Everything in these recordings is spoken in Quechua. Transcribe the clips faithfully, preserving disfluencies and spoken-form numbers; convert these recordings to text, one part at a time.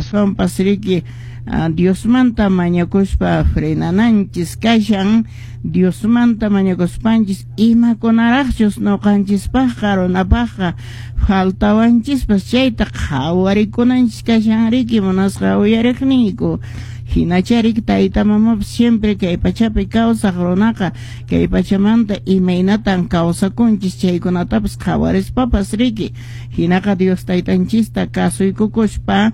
Aswanpas riki Diosmanta mañakuspa frenananchis kashan, Diosmanta mañakuspanchis imakunaraqchus ñuqanchispaqqa runapaqqa faltawanchispas chayta qhawarikunanchis kashan riki, munasqa uyariqniyku. Hinacharik tayta mamapas siempre kay pachapi kawsaq runaqa kay pachamanta imaynatan kawsakunchis chaykunatapas qhawarispapas riki. Hinaqa Dios taytanchista kasuykukuspa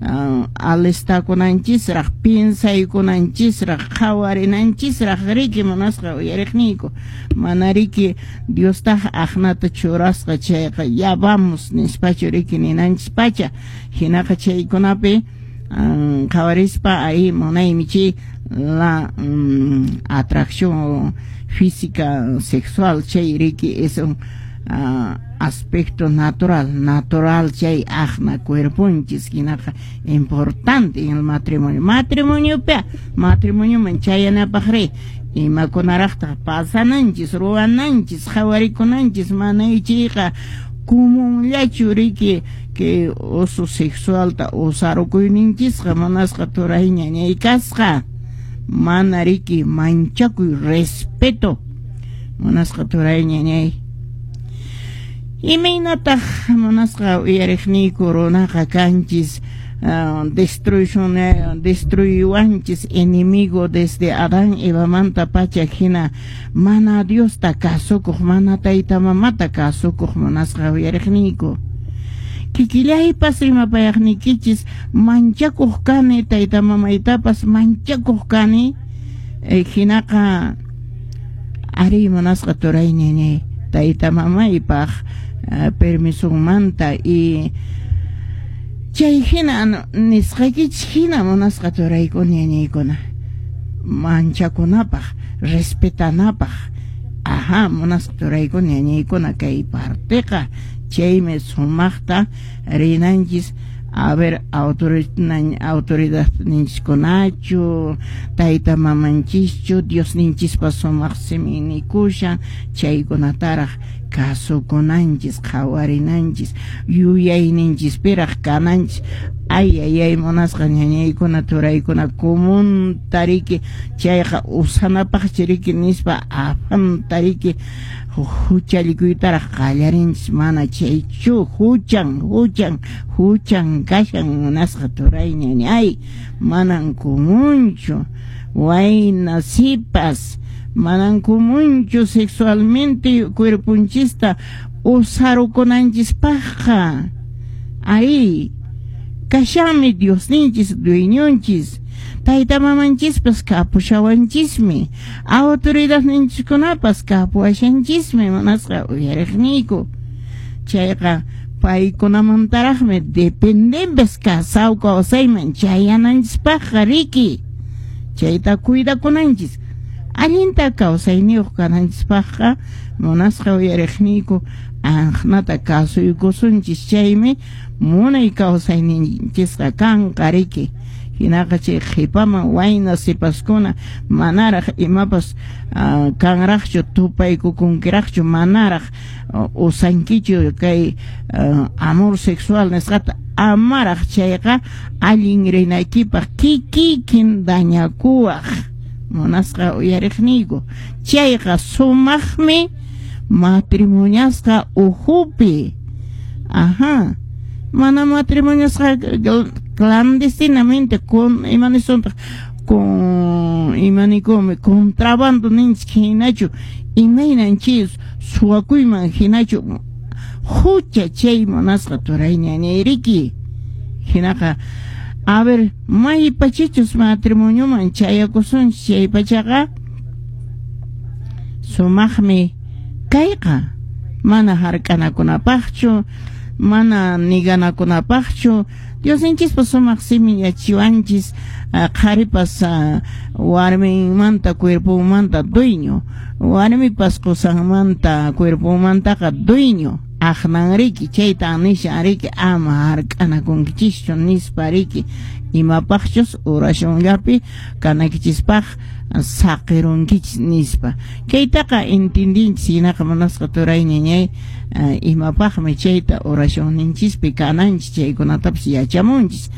uh, alistakunanchisraq, piensaykunanchisraq, qhawarinanchisraq riki, munasqa uyariqniyku. Mana riki Diostaq aqnata churasqa chayqa ya vamos nispachu riki ninanchis pacha. Hinaqa chaykunapi um, qhawarispa ahí munaymi chay la um, atracción física sexual chay riki es un uh, aspecto natural, natural chay aqna cuerponchis hinaqa importante en el matrimonio. Matrimoniopi matrimonioman chayanapaq ri imakunaraqtaq pasananchis, ruwananchis, qhawarikunanchis, mana ichiyqa comunllachu riki que uso sexualta usarukuyninchisqa munasqa turay ñañay kasqa, mana riki manchakuy respeto munasqa turay ñañay. Imaynataq munasqa uyariqniyku runaqa kanchis uh, destrucción destruyuwanchis enemigo desde Adán Evamanta pacha hina mana Diosta kasukuq, mana tayta mamata kasukuq munasqa uyariqniyku. Kikillaypas rimapayaqniykichis manchakuq kani, tayta mamaytapas manchakuq kani, eh, hinaqa ari munasqa turay ñañay tayta mamaypaq uh, permisonmanta y chay hina nisqaykichis hina munasqa turaykuna ñañaykuna manchakunapaq, respetanapaq. Ajá, munasqa turaykuna ñañaykuna kay parteqa chaymi sumaqta rinanchis. A ver, autoridad ninchiskunachu, tayta mamanchischu, Diosninchispa sumaq simin nikushan chaykunataraq kasukunanchis, qhawarinanchis, yuyayninchispiraq kananchis. Ay, ay, ay, munasqa ñañaykuna turaykuna comunta riki chayqa usanapaqchi riki nispa afanta riki huchallikuytaraq qallarinchis, mana chaychu huchan, huchan, huchan kashan munasqa turay ñañay, manan comunchu wayna sipas, manan comunchu sexualmente cuerponchista usarukunanchispaqqa. Ahí kashanmi Diosninchis, dueñonchis, tayta mamanchispas kapushawanchismi, autoridadninchiskunapas kapuwashanchismi munasqa uyariqniyku. Chayqa paykunamantaraqmi dependempes kasaw kawsayman chayananchispaqqa riki. Chayta cuidakunanchis. Allinta kawsayniyuq kananchispaqqa munasqa uyariqniyku aqnata kasuykusunchis, chaymi munay kawsayninchisqa kanqa riki. Hinaqa chay qhipaman wayna sipaskuna manaraq imapas uh, kanraqchu, tupaykukunkiraqchu, manaraq uh, usankichu kay uh, amor sexual nisqata, amaraq chayqa allin rinaykipaq kikikin dañakuwaq munasqa uyariqniyku. Chayqa sumaqmi matrimoniasqa uhupi. Ajá, mana matrimoniasqa clandestinamente con imanisuntaq con imanikumi contrabando ninchik hinachu, imaynan chay suwakuyman hinachu hucha chay munasqa turay ñañayriki. Hinaqa a ver, maypachichus matrimonioman chayakusunchis chay pachaqa sumaqmi kayqa, mana hark'anakunapaqchu, mana niganakunapaqchu. Diosninchispa sumaq simin yachiwanchis, qharipas warminmanta cuerponmanta dueño, warmipas qusanmanta cuerponmantaqa dueño. Aqnan riki chayta nishan riki ama hark'anakunkichischu nispa riki, imapaqchus oracionllapi kanaykichispaq saqirunkichis nispa. Kaytaqa entendinchis hinaqa munasqa turay ñañay, imapaqmi chayta oracionninchispi kananchis, chaykunatapas yachamunchis.